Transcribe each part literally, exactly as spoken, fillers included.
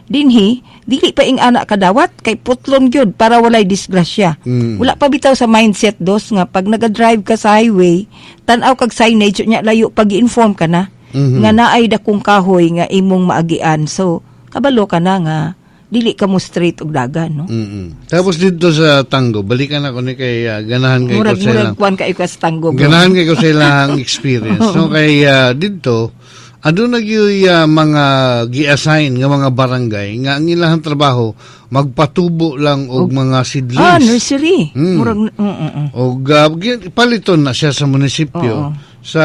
Dinhi dili pa ing ana kadawat kay putlon gyud para walay disgrasya. Mm. Wala pa bitaw sa mindset, dos, nga pag naga-drive ka sa highway, tan-aw kag signage nya layo pag inform ka na Mhm. nga naay dakong kahoy nga imong maagian. So kabalo ka na nga dili ka mo straight og dagan, no? Mm. Tapos dito sa Tango, balikan ako ni kay ah, ganahan kay ko Murag sa murag ilang kuan kaayo ka sa Tango, bro. Ganahan kay ko sa ilang experience. No, kay ah, dito aduna gyud ah, mga gi-assign nga mga barangay nga ang ilang trabaho magpatubo lang og mga seedlings. Ah, nursery. Mm. Murag mm, mm, mm. Og uh, gi- paliton na siya sa munisipyo Oo. sa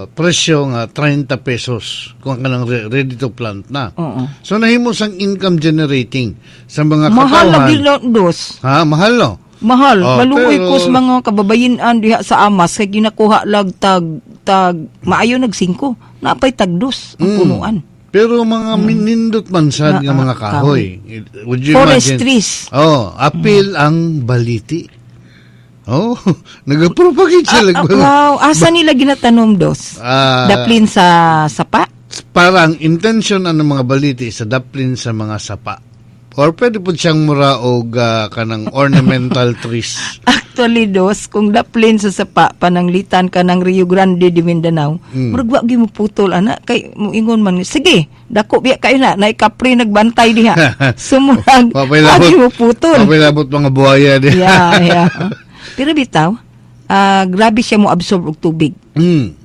presyo nga thirty pesos kung kanang re- ready to plant na. Oo. So nahimo sang income generating sa mga Mahal katawhan. lagi lang, dos. Ha, mahal no. Mahal. Oh, Maluoy pero- ko sa mga kababayen-an diha sa Amas kay ginakuha lag tag tag maayo nag singko. Napay tag dos ang Mm. punuan. Pero mga minindot man sad Ah, nga mga ah, kahoy. Would you Forest imagine? trees. Oh, apil ang baliti. Oh, nagapropagate sila. Ah, ah, wow, asa nila ginatanom, dos? Ah, Daplin sa sapa? Parang intention ang mga baliti sa daplin sa mga sapa. Or pwede po siyang mura og ah, kanang ornamental trees. Actually, dos, kung daplin sa sapa, pananglitan ka ng Rio Grande de Mindanao, Mm. murag wa gyud mo putol ana kay moingon man, "Sige, dako biya kayo na, naay kapre nagbantay diha." Sumurag, Wapay wa labot. gyud mo putol. Wapay labot mga buhaya di. yeah, yeah. Pero bitaw, ah, grabe siya mo absorb og tubig. Mm.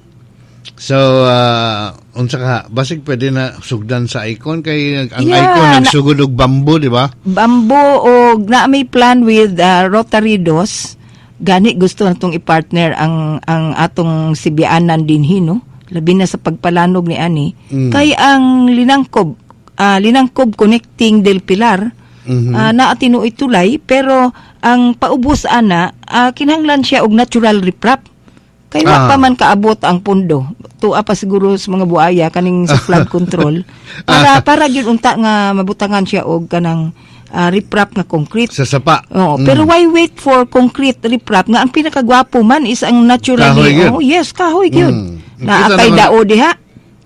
So, uh, unsa ka, basig pwede na sugdan sa Icon kay ang Yeah, Icon na- nagsugod og bamboo, di ba? Bamboo o na may plan with ah, Rotary, dos. Gani gusto natong i-partner ang ang atong sibianan dinhi, no? Labi na sa pagpalanog ni ani. Mm. Kay ang Linangkob, ah, Linangkob connecting Del Pilar, Mhm. ah, naa tinuoy tulay, pero ang paubos ana, ah, kinahanglan siya og natural riprap. Kay wa Ah. pa man kaabot ang pundo. Tua pa siguro sa mga buaya kaning sa flood control para para gyud unta nga mabutangan siya og kanang ah, riprap nga concrete. Sa sapa. Oo, Mm. pero why wait for concrete riprap nga ang pinakagwapo man is ang naturally? Kahoy gyud. Oh, yes, kahoy gyud. Mm. Na Kita kay naman- dao diha.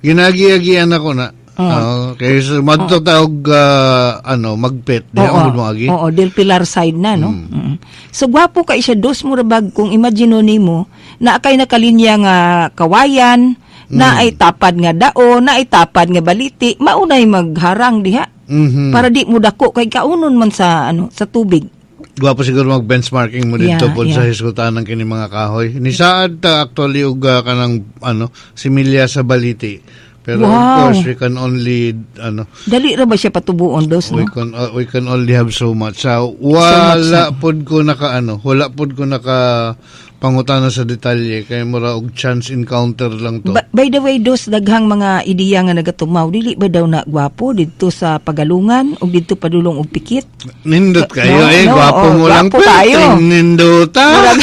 Ginagiagian ako na. Oo. Oo, kay sa madto ta og ah, ano, Magpet diha Oo, mo agi. Oo, Del Pilar side na, no? Mm. So, gwapo kay siya, dos, mura bag, kung imagine nimo, na kay nakalinya nga kawayan, na ay tapad nga dao, na ay tapad nga baliti, maunay magharang diha. Mhm. Para di mo dako kay kaunon man sa ano sa tubig. Gwapo siguro mag-benchmarking mo dito Yeah, pod yeah. sa hisgutan ng kini mga kahoy. Nisaad ta actually og ah, kanang ano similya sa baliti. Pero of Wow. course we can only ano Dali ra ba siya patubuon, dos, we no? can uh, we can only have so much. So, wala pod ko naka ano, wala pod ko naka pangutana sa detalye kay mura og chance encounter lang to. Ba- by the way, dos, daghang mga ideya nga nagatumaw, dili ba daw na gwapo didto sa Pagalungan ug didto padulong og Pikit? Nindot kayo No, eh, no, gwapo oh, mo lang. gwapo kayo. Pero nindota. Murag,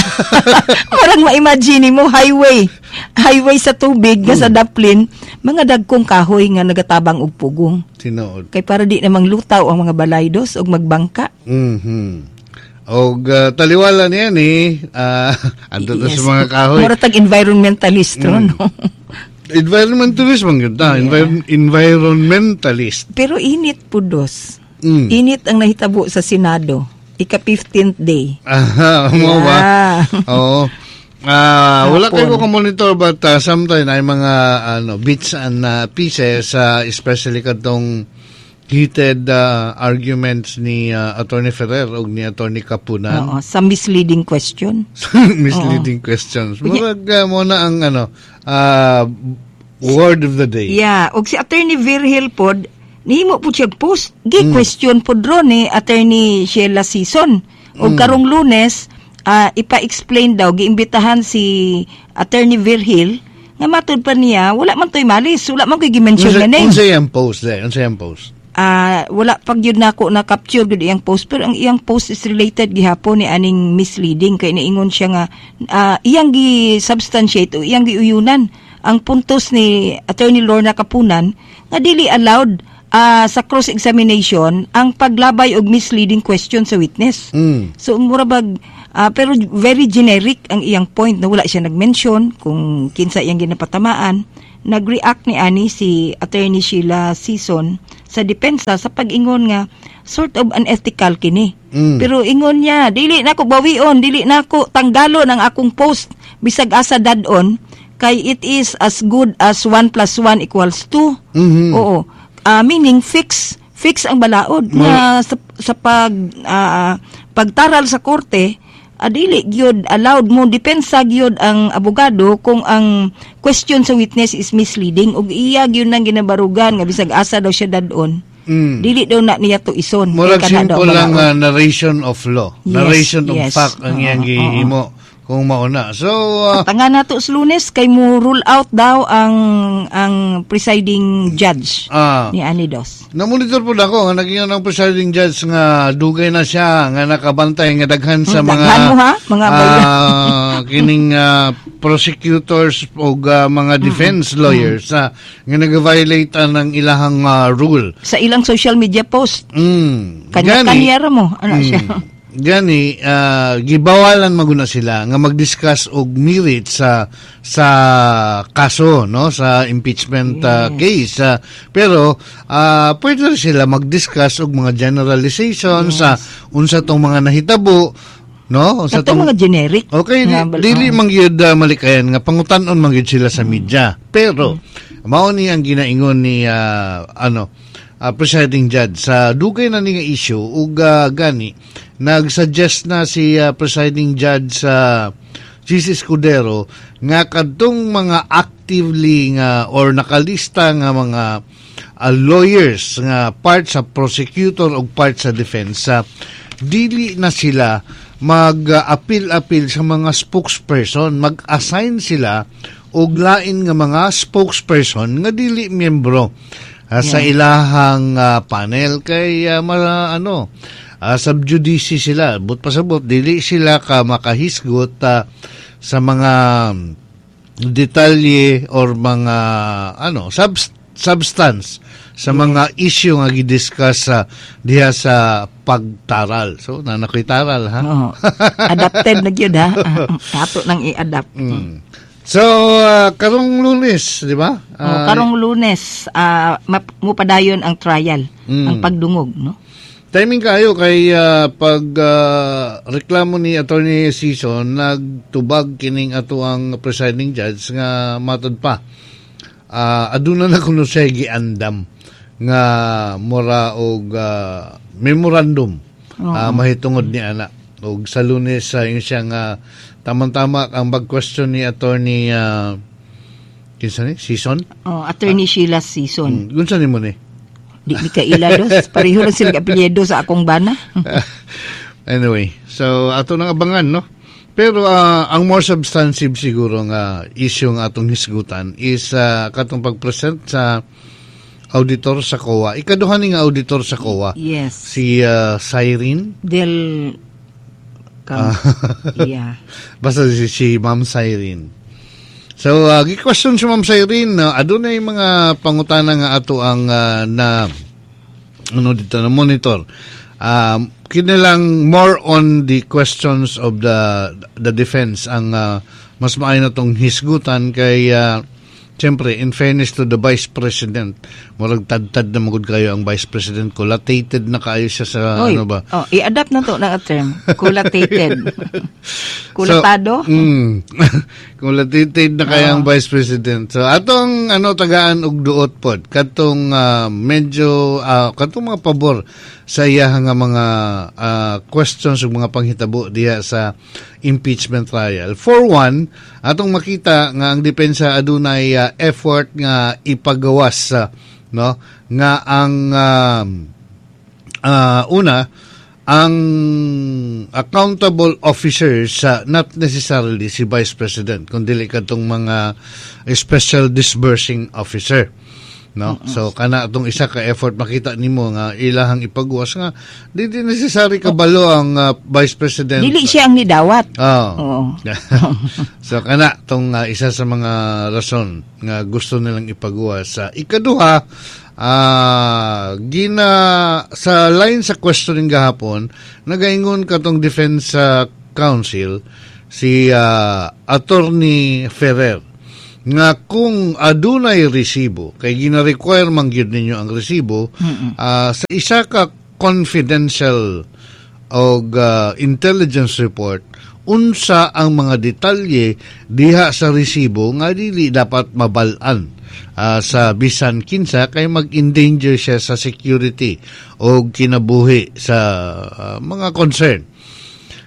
murag ma-imagine mo highway. Highway sa tubig nga sa daplin, mga dagkong kahoy nga nagatabang og pugong. Tinuod. Kay para di namang lutaw ang mga balay, dos, og magbangka. Mhm. Og uh, taliwala niya ni uh, ando to sa mga kahoy. Mura tag environmentalist ro, Mm. no? Environmentalist man gyud ta, Envir- environmentalist. Pero init po, dos. Mm. Init ang nahitabo sa Senado. Ika fifteenth day. Aha, mo ba? Yeah. Oo. Ah, wala Hapon. kayo ko monitor but uh, sometimes ay mga ano bits and uh, pieces uh, especially kadtong heated uh, arguments ni uh, Attorney Ferrer ug ni Attorney Kapunan. Oo, sa misleading question. Misleading questions. Murag uh, mo na ang ano uh, word of the day. Yeah, og si Attorney Virgil pod nihimo po siya post, gi-question pod ron ni Attorney Sheila Sison. Og karong Lunes, ah, ipa-explain daw, giimbitahan si Attorney Virgil nga matud pa niya wala man to'y malis, wala man ko'y gi-mention Unsa nga name. unsa iyang post there? Unsa iyang post? Ah, wala pag yun nako na capture gud iyang post, pero ang iyang post is related gihapon ni aning misleading kay niingon siya nga ah, iyang gi substantiate o iyang giuyunan ang puntos ni Attorney Lorna Kapunan nga dili allowed ah, sa cross examination ang paglabay og misleading question sa witness. Mm. So mura bag ah, pero very generic ang iyang point na wala siya nag-mention kung kinsa iyang ginapatamaan. Nag-react ni ani si Attorney Sheila Sison sa depensa sa pag-ingon nga sort of unethical kini. Mm. Pero ingon niya, dili nako bawion, dili nako tanggalon ang akong post bisag asa dad-on kay it is as good as one plus one equals two. Mhm. Oo. Ah, meaning fix fix ang balaod nga sa, sa pag ah, pagtaral sa korte, ah, dili gyud allowed mo depensa gyud ang abogado kung ang question sa witness is misleading ug iya gyud nang ginabarugan nga bisag asa daw siya dad-on. Mm. Dili daw na niya tuison. Murag Kay kana daw simple lang balaod. uh, narration of law. Yes, Narration of yes. fact ang Oo, iyang oo. gihimo kung mauna. So, uh, Tanga nato sa Lunes kay mo rule out daw ang ang presiding judge ah, ni ani Dos. Na-monitor po ako nga naging ang presiding judge nga dugay na siya nga nakabantay nga daghan sa Hmm, mga daghan mo, ha? Mga ah, kining ah, prosecutors o mga defense lawyers ah, nga nag-violate ang ilahang ah, rule. Sa ilang social media post. Mm. Kanya Gani- kanya ra mo ano siya. Mm. Gani ah, gibawalan maguna sila nga mag-discuss og merit sa sa kaso, no, sa impeachment ah, case. Ah, pero ah, pwede rin sila mag-discuss og mga generalization sa unsa tong mga nahitabo, no, unsa Katong mga generic. Okay, di, nga bal- dili oh. man gyud uh, malikayan nga pangutan-on man gyud sila sa media. Pero mao ni ang ginaingon ni ah, ano ah, presiding judge sa dugay na ni nga issue ug ah, gani nag-suggest na si ah, presiding judge sa Chiz Escudero nga kadtong mga actively nga or nakalista nga mga ah, lawyers nga part sa prosecutor o part sa defense, ah, dili na sila mag-appeal-appeal sa mga spokesperson, mag-assign sila og lain nga mga spokesperson nga dili miyembro ah, sa ilahang ah, panel kay ah, ma, ano uh, sub judice sila, but pasabot dili sila ka makahisgot ah, sa mga detalye or mga ano sub- substance sa mga issue nga gidiscuss sa diha sa pagtaral. So, nanakoy taral ha. Oo. Adapted na gyud ha. Ato nang i-adapt. Mm. So, ah, karong Lunes, di ba? Oh, Ah, karong Lunes, ah, map- mupadayon ang trial, Mm. ang pagdungog, no? Timing kayo kay ah, pag ah, reklamo ni Attorney Sison, nagtubag kining ato ang presiding judge nga matod pa. Ah, aduna na kuno siya giandam nga mura og ah, memorandum ah, mahitungod ni ana og sa Lunes sa uh, siya nga tamang-tama ang bag-question ni Attorney uh, kinsa ni Sison. Oh, Attorney Sheila Sison. Mm, unsa nimo ni? Di mi kaila dos. Pareho lang sila apelyido sa akong bana. Anyway, so ato nang abangan, no? Pero ah, ang more substantive siguro nga issue nga atong hisgutan is ah, katong pag-present sa auditor sa C O A. Ikaduha ni nga auditor sa C O A. Yes. Si ah, Cyrene. Del Cam- yeah. Basta si, si Ma'am Cyrene. So, uh, gi-question si Ma'am Cyrene, uh, adunay mga pangutana nga ato ang ah, na ano dito na monitor. Um, kinilang more on the questions of the the defense ang ah, mas maayo na tong hisgutan kay ah, siyempre, in fairness to the Vice President, murag tad-tad na magud kayo ang Vice President ko. Latated na kayo siya sa Oy, ano ba? Oh, i-adapt na to na term. Kulatated. Kulatado? So, mm, kulatated na kaya ang Vice President. So, atong ano tagaan og duot pod katong ah, medyo ah, katong mga pabor sa iya nga mga ah, questions ug mga panghitabo diha sa impeachment trial. For one, atong makita nga ang depensa adunay ah, effort nga ipagawas sa, no, nga ang ah, ah, una, ang accountable officers sa not necessarily si Vice President kundi kadtong mga special disbursing officer, no? So kana atong isa ka effort, makita nimo nga ilahang ipagawas nga di di necessary kabalo ang ah, Vice President. Dili siya ang nidawat. Oh. Oo. So kana tong ah, isa sa mga rason nga gusto nilang ipagawas. Sa ikaduha, ah gina sa line sa questioning gahapon, nagaingon katong defense ah, counsel si ah, Attorney Ferrer Nga kung adunay resibo, kay gina-require man gyud ninyo ang resibo, ah, sa isa ka confidential og ah, intelligence report, unsa ang mga detalye diha sa resibo nga dili dapat mabal-an ah, sa bisan kinsa kay mag-endanger siya sa security o kinabuhi sa ah, mga concern.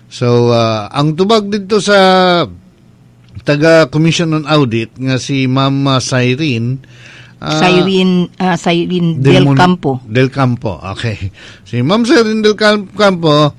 So ah, ang tubag dito sa taga Commission on Audit nga si Ma'am Cyrene ah, Cyrene, ah, Cyrene Del Mon- Campo. Del Campo, okay. Si Ma'am Cyrene Del Cam- Campo,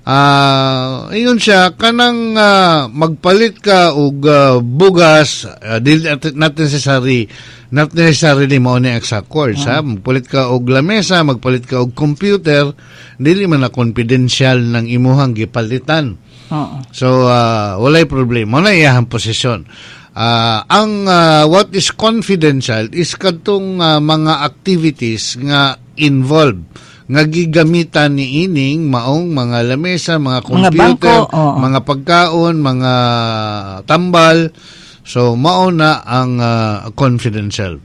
ah ingon siya, kanang ah, magpalit ka og ah, bugas, uh, dili not necessary, not necessarily mao ni exact words, ha? Magpalit ka og lamesa, magpalit ka og computer, dili man na confidential ng imuhang gipalitan. Oo. So, uh, walay problema. Na iyahang posisyon. Ah, ang ah, what is confidential is kadtong ah, mga activities nga involved nga gigamitan ni ining maong mga lamesa, mga Mga computer, bangko, oo. mga pagkaon, mga tambal. So mao na ang ah, confidential.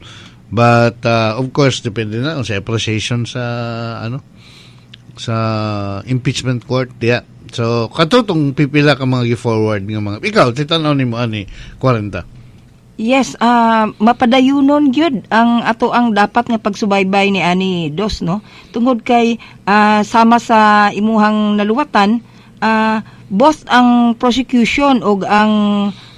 But ah, of course depende na sa appreciation sa ano sa impeachment court diya. So katutong pipila ka mga gi-forward nga mga ikaw titan-aw nimo ani forty. Yes, ah mapadayunon gyud ang ato ang dapat nga pagsubaybay ni ani dos, no. Tungod kay ah, sama sa imuhang naluwatan, ah, both ang prosecution ug ang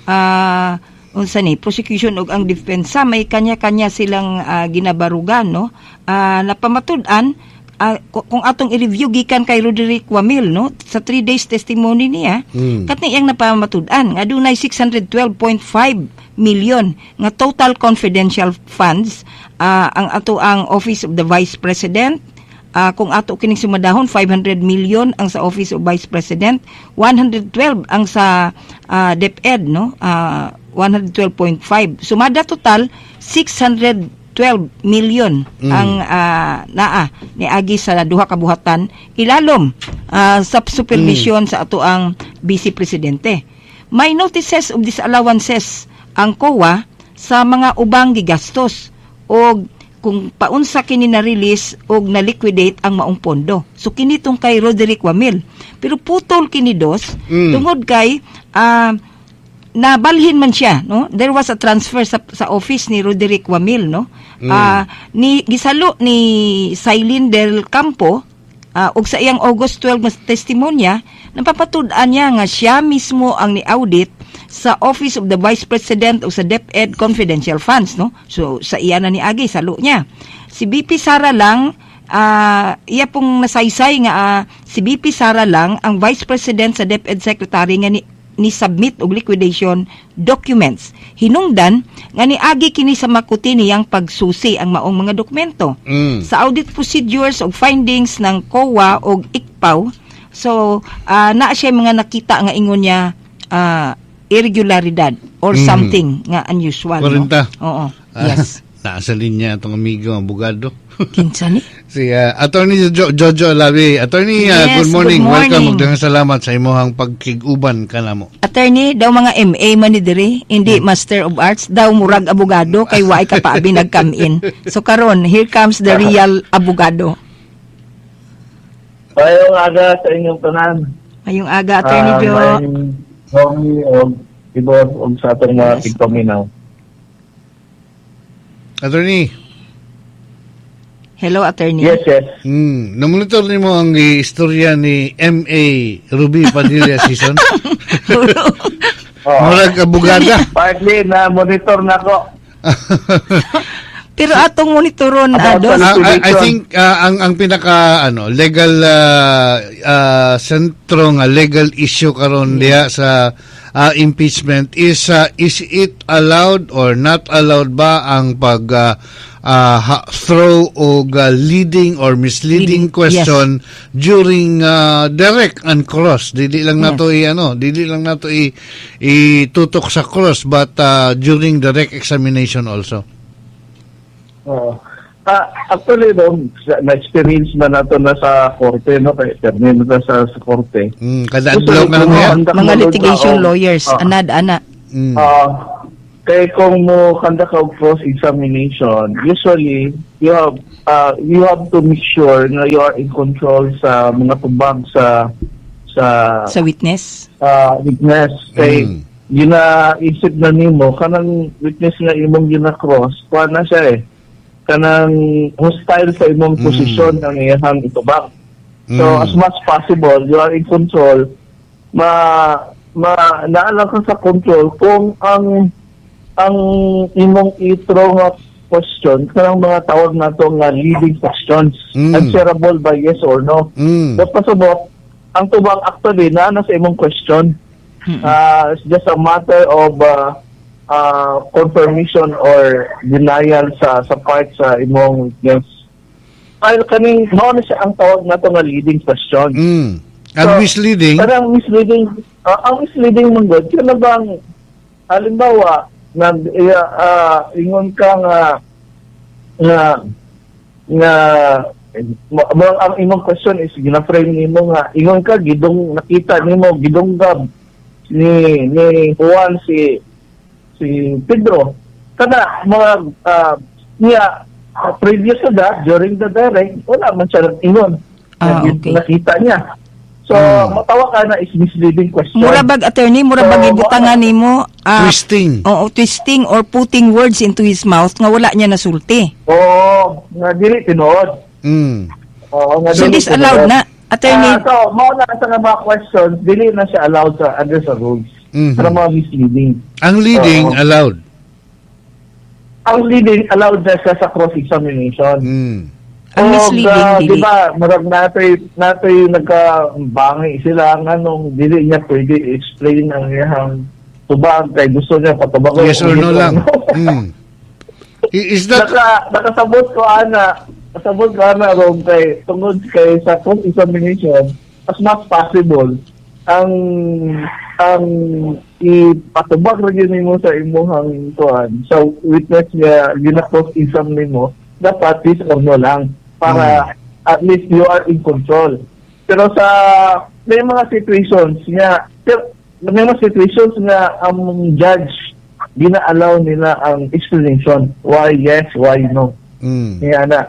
ah, unsa ni prosecution ug ang depensa, may kanya-kanya silang ah, ginabarugan, no. Ah, napamatud-an ah, ku- kung atong i-review gikan kay Roderick Wamil, no, sa three days testimony niya, Mm. katni iyang napamatud-an nga dunay six hundred twelve point five million nga total confidential funds ah, ang ato ang Office of the Vice President. Ah, kung ato kining sumadahon, five hundred million ang sa Office of Vice President, one hundred twelve ang sa ah, DepEd, no, Ah, one hundred twelve point five, sumada total six hundred twelve million Mm. ang ah, naa niagi sa duha ka buhatan ilalom ah, sa supervision sa ato ang Vice Presidente. May notices of disallowances ang C O A sa mga ubang gigastos og kung paunsa kini na release og na liquidate ang maong pondo. So kini tong kay Roderick Wamil. Pero putol kini dos Mm. tungod kay ah, nabalhin man siya, no? There was a transfer sa, sa office ni Roderick Wamil, no? Mm. Ah, ni gisalo ni Cylene Del Campo ah, og sa iyang August twelve nga testimonya, napapatud-an niya nga siya mismo ang ni-audit sa Office of the Vice President o sa DepEd confidential funds, no? So sa iya na ni agi salo niya. Si V P Sara lang, ah, iya pong nasaysay nga ah, si V P Sara lang ang Vice President sa DepEd Secretary nga ni ni submit og liquidation documents. Hinungdan nga niagi kini sa makuti niyang pagsusi ang maong mga dokumento. Mm. Sa audit procedures og findings ng C O A og I C P A O, so ah, naa siya mga nakita nga ingon niya ah, irregularidad or Mm. something nga unusual. No? Kwarenta. Oo. Yes. Naa sa linya atong amigo abogado. Kinsa ni? Si uh, Attorney jo- Jojo Alabi. Attorney, uh, Yes, good morning. good morning. Welcome ug daghang salamat sa imong pagkig-uban kanamo. Attorney, daw mga M A man ni diri, hindi Master of Arts, daw murag abogado kay waay ka paabi nag-come in. So karon, here comes the real abogado. Mayong aga sa inyong tanan. Mayong aga, Attorney Ah, Jo. Mayong Romy og Ibor og sa atong mga Yes. tigpaminaw. Attorney, Hello, Attorney. Yes, yes. mm, namonitor nimo ang istorya ni M A. Ruby Padilla Season? Oh. Murag abogada. Partly na monitor na ko. Pero atong monitoron, About Ados. sa Ah, I, I think ah, ang ang pinaka ano legal ah, ah, sentro nga legal issue karon diha sa ah, impeachment is ah, is it allowed or not allowed ba ang pag ah, ah, ha- throw og ah, leading or misleading Leading, question during ah, direct and cross? Dili lang Yes. nato i ano dili lang nato i itutok sa cross but ah, during direct examination also. Oo. Ah, actually, no, sa- na-experience na nato na sa korte, no, kay attorney na sa, sa korte. mm, kada adlaw ka lang yan. Mga litigation lawyers, Ah. anad ana. mm. Ah, Kay kung mo conduct og cross examination, usually you have uh, you have to make sure na you are in control sa mga tubag sa sa Sa witness. uh, witness. Kay Mm. ginaisip na nimo kanang witness nga imong gina-cross, kuha na siya eh. Kanang hostile sa imong Mm. posisyon ang iyang itubag. So Mm. as much possible, you are in control. Ma ma naa lang ka sa control kung ang ang imong i-throw nga question kanang mga tawag nato nga leading questions Mm. answerable by yes or no. Mm. So pasubot ang tubag actually na na sa imong question. Uh, it's just a matter of uh, uh, confirmation or denial sa sa part sa imong witness. Ay kaning mao na siya ang tawag nato nga leading question. Mm. Ang So, misleading, Parang misleading, ah, ang misleading man gud, kana bang halimbawa nag uh, ingon ka nga nga nga mo, mo- ang imong question is gina-frame nimo nga ingon ka gidong nakita nimo gidunggab ni ni Juan si si Pedro kana mga ah, niya uh, previous to that during the direct wala man siya nag-ingon Ah, Na- okay. nakita niya so Hmm. matawa ka na is misleading question Mura bag attorney, mura bag So, ibutangan nimo ah, twisting. Oo, twisting or putting words into his mouth nga wala niya nasulti. Oo, nga dili tinuod. Mm. Oo, nga So dili disallowed tinuod. na, attorney. Ah, so mao na sa nga mga questions dili na siya allowed sa under sa rules. Mhm. Para mga misleading. Ang leading Oo. allowed. Ang leading allowed na siya sa cross-examination. Mm. Ang Og, misleading, ah, dili. Di ba, murag natoy natoy nagka-bangi sila nganong dili niya pwede i-explain ang iyang tubag kay gusto niya patubag Yes or no lang. Mm. I- Is that Naka, nakasabot ko ana, nakasabot ko ana ron kay tungod kay sa cross-examination as much possible ang ang ipatubag ra gyud nimo sa imuhang kuan sa witness nga gina-cross exam nimo dapat yes or no lang para at least you are in control pero sa may mga situations nga pero may mga situations nga ang judge gina-allow nila ang explanation why yes why no mm. Kaya na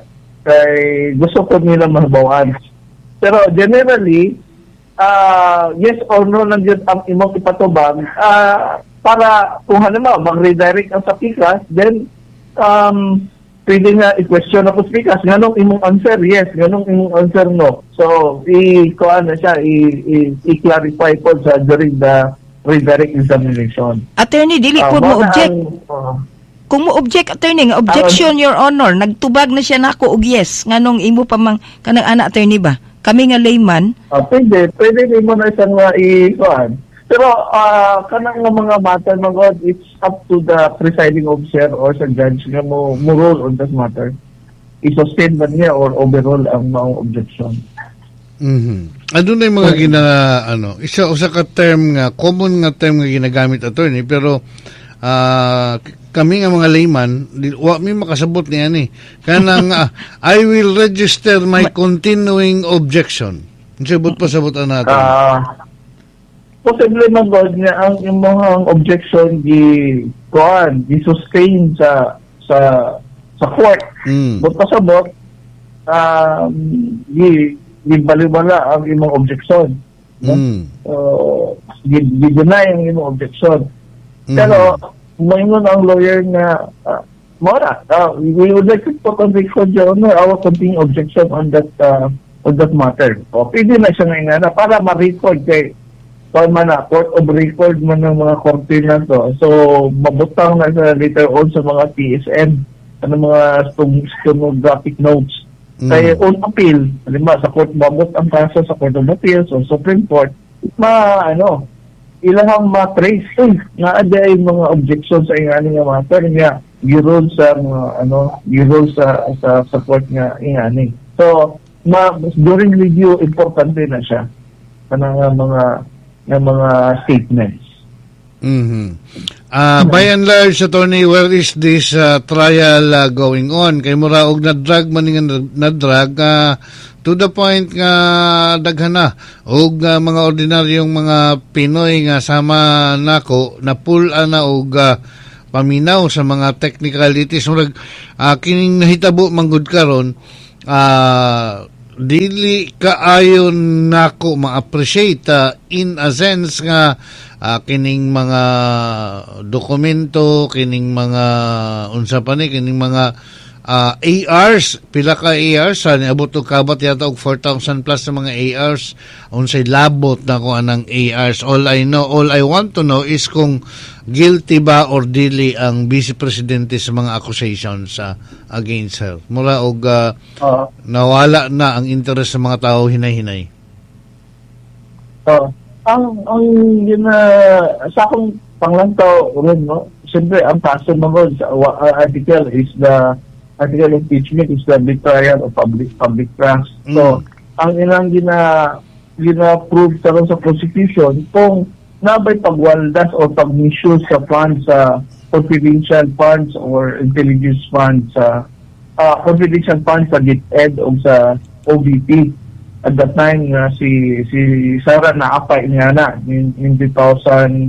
kay gusto ko nila mahibawan pero generally ah yes or no lang yun ang imong ipatubag ah para kung halimbawa mag-redirect ang sa pikas then um pwede nga i-question ako sa pikas nganong imong answer yes nganong imong answer no so i kuan na siya i, i, i-clarify po sa during the redirect examination Attorney, dili Ah, po mao mo na object. ang- oh. Kung mo object attorney nga objection your honor, nagtubag na siya nako og yes nganong imo pa mang kanang ana attorney ba? Kami nga layman, Ah, pwede, pwede din mo na isang uh, i-kuan. Pero ah kanang nga mga matter mga God, it's up to the presiding officer or sa judge nga mo, mo rule on that matter. I-sustain ba niya or overrule ang maong objection. Mhm. Ano na yung mga gina ano, isa usa ka term nga common nga term nga ginagamit attorney pero ah, kami nga mga layman di, wa mi makasabot niya ni. Kanang ah, I will register my continuing objection. Sabot pa sabot natin. Ah, posible man God nga ang imong objection gi kuan, gi sustain sa sa sa court. Mm. But pasabot um gi gibaliwala ang imong objection. No? Mm. Uh, gi-deny ang imong objection. Mhm. Pero moingon ang lawyer nga uh, Mora, uh, we would like to put on record, Your Honor, our continuing objection on that uh, on that matter. O, pwede na siya ngayon na para ma-record kay kuan man na, court of record man ng mga korte na to. So, mabutang na sa later on sa mga TSN, ano mga sten- stenographic notes. Mm. Kaya on appeal, halimbawa sa court, mabot ang kaso sa Court of Appeals or Supreme Court, ma, ano, ilahang ma-trace eh, nga ada ay mga objections sa ingani nga matter nga gi-rule sa mga ano gi-rule sa sa sa court nga ingani so ma during review importante na siya kanang nga mga nga mga statements Mhm. Ah, by and large, attorney, where is this uh, trial uh, going on? Kay mura og na-drag man nga na-drag ah, to the point nga daghan na og ah, mga ordinaryong mga Pinoy nga sama nako na pull ana og ah, paminaw sa mga technicalities. Murag uh, kining nahitabo manggod karon, uh, dili kaayo nako ma-appreciate uh, in a sense nga uh, kining mga dokumento, kining mga unsa pa ni, kining mga uh, A Rs, pila ka A Rs, sa niabot og kabat yata og four thousand plus na mga A Rs. Unsay labot nako anang A Rs? All I know, all I want to know is kung guilty ba or dili ang vice presidente sa mga accusations uh, against her. Mura og uh, Uh, nawala na ang interest sa mga tao hinay-hinay. uh, ang ang yun na sa akong panglantaw ron, no, siyempre ang kaso mo sa uh, article is the article impeachment is the betrayal of public public trust. So Mm. ang ilang gina gina-prove karon sa prosecution kung nabay pagwaldas o pag-misuse sa funds, sa confidential funds or intelligence funds, sa uh, confidential funds sa DepEd o sa O V P at that time nga si si Sara naapay niya na in, in twenty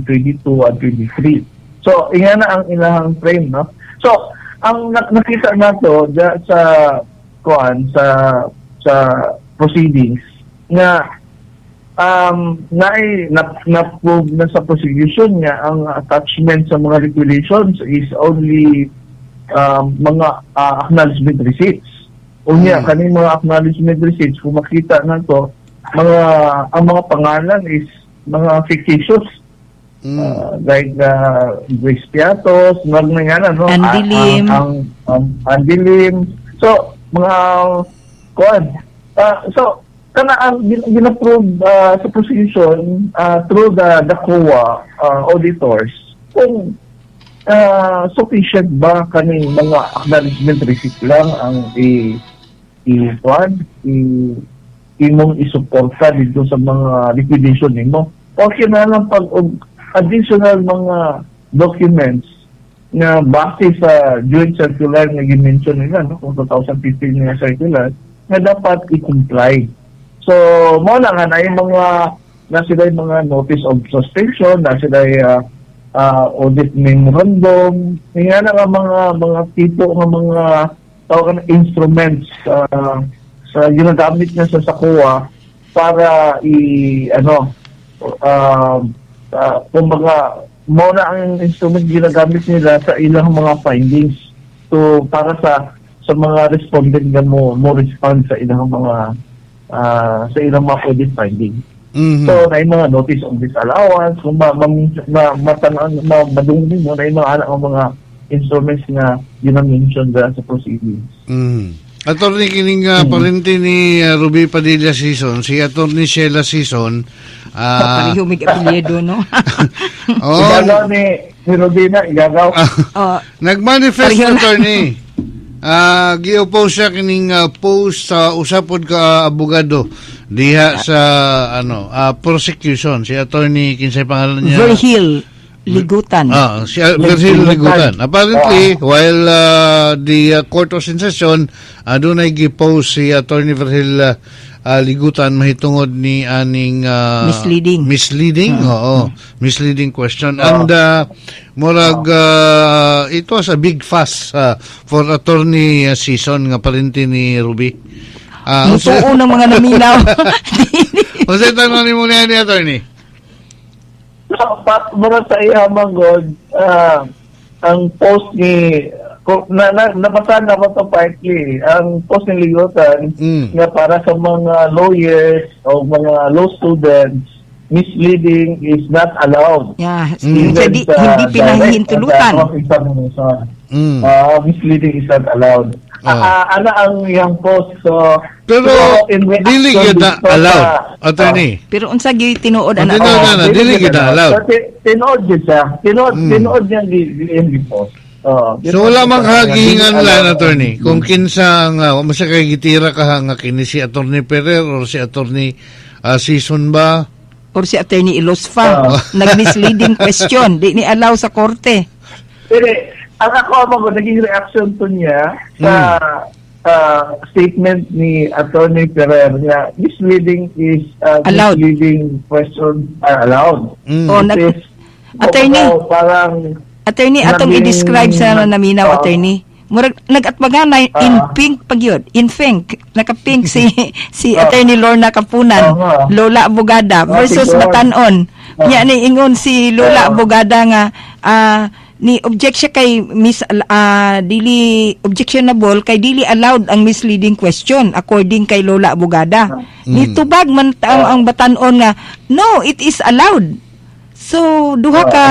twenty-two and twenty-three. So inga na ang ilahang frame, no. So ang nak- nakita nato da, sa kuan sa sa proceedings nga um naay na, na-prove na sa prosecution nga ang attachment sa mga liquidations is only um, mga uh, acknowledgement receipts. Unya, Mm. kaning mga acknowledgement receipts, kung makita na to, mga ang mga pangalan is mga fictitious. Mm. Uh, like uh, Grace Piatos, mga nga no? Andy Ah, Lim. Ang, ang, ang Andy Lim. So, mga kuan. Ah, so, kana ang gin- gina-prove uh, sa prosecution uh, through the the C O A uh, auditors kung uh, sufficient ba kaning mga acknowledgement receipt lang ang i i kuan i imong isuporta dito sa mga liquidation nimo o kinahanglan pag og additional mga documents na base sa joint circular nga gi-mention nila, no, kung twenty fifteen nga circular nga dapat i-comply. So mo na nga na yung mga na sila yung mga notice of suspension, na sila uh, uh, audit memorandum, nga na nga mga mga tipo nga mga tawag na instruments uh, sa ginagamit niya sa sa C O A para i ano uh, uh, kumbaga mo na ang instrument ginagamit nila sa ilang mga findings to para sa sa mga respondent nga mo mo respond sa ilang mga ah, sa ilang mga audit findings. Mhm. So, na yung mga notice of disallowance, kung ma, ma, ma, matan- ma, madungin mo, na yung mga anak ng mga instruments nga gina-mention dyan sa proceedings. Mm. Attorney, kining uh, parente ni uh, Ruby Padilla Sison, si Attorney Sheila Sison, ah Pareho mig apelyido, no? Oh, Igagaw ni, ni Rubina, igagaw. Oh, nagmanifest, Pareho na. attorney. Ah, gi-oppose siya kining uh, post sa usa pod ka abogado diha sa ano, ah, prosecution, si Attorney, kinsay pangalan niya? Virgil Ligutan. Ah, si uh, Virgil Ligutan. Apparently, while uh, the uh, court was in session, uh, dunay gi-post si Attorney Virgil uh, uh, Ligutan mahitungod ni aning uh, Misleading. Misleading, oo. Misleading question. And uh, murag uh, it was a big fuss uh, for Attorney uh, Sison nga parente ni Ruby. Uh, Mutuo ng mga naminaw. Unsay tanong nimo niya ni Attorney? So, pa, mura sa iya man god, ah, ang post ni ko, na, na, nabasa na ko to partly, ang post ni Ligutan Mm. nga para sa mga lawyers o mga law students, misleading is not allowed. Yeah. Mm. So, di, sa hindi pinahihintulutan. direct examination. Mm. Ah, misleading is not allowed. Ah. Ah, ah, ana ang iyang post. So, Pero so, in reaction dili gyud na dito sa- allowed, Attorney. Pero unsa gyud tinuod Oh, ana? tinuod na, na, dili gyud na allowed. So, ti- tinuod gyud siya. Tinuod, Mm. tinuod niya di, di, di post. Oh, So wala mang hagingan Dili lan, allowed. Attorney. Kung kinsa nga wa mo siya kay gitira ka nga kini si Attorney Ferrer or si Attorney uh, Sison ba? Or si Attorney Ilosfa, Ah. nag-misleading question, di ni allow sa korte. Pero ang ako mo naging reaction to niya sa ah, statement ni Attorney Ferrer nga misleading is uh, Allowed. misleading question are allowed. Mm. Oh, nag- It is, Attorney. kumbaga, parang Attorney, atong Naging- i-describe sa naminaw, Oo. attorney. Murag nagatbaganay in Ah. pink pag yun. In pink. Naka-pink si si Ah. Attorney Lorna Kapunan, Oo nga. Lola Abogada Ah, versus si Lorna. Batanon. Ah. Nya ni ingon si Lola Ah. Abogada nga ah, ni object siya kay Miss ah, dili objectionable kay dili allowed ang misleading question according kay Lola Abogada. Ni tubag man ta- ang, ang batanon nga no, it is allowed. So duha Ah, ka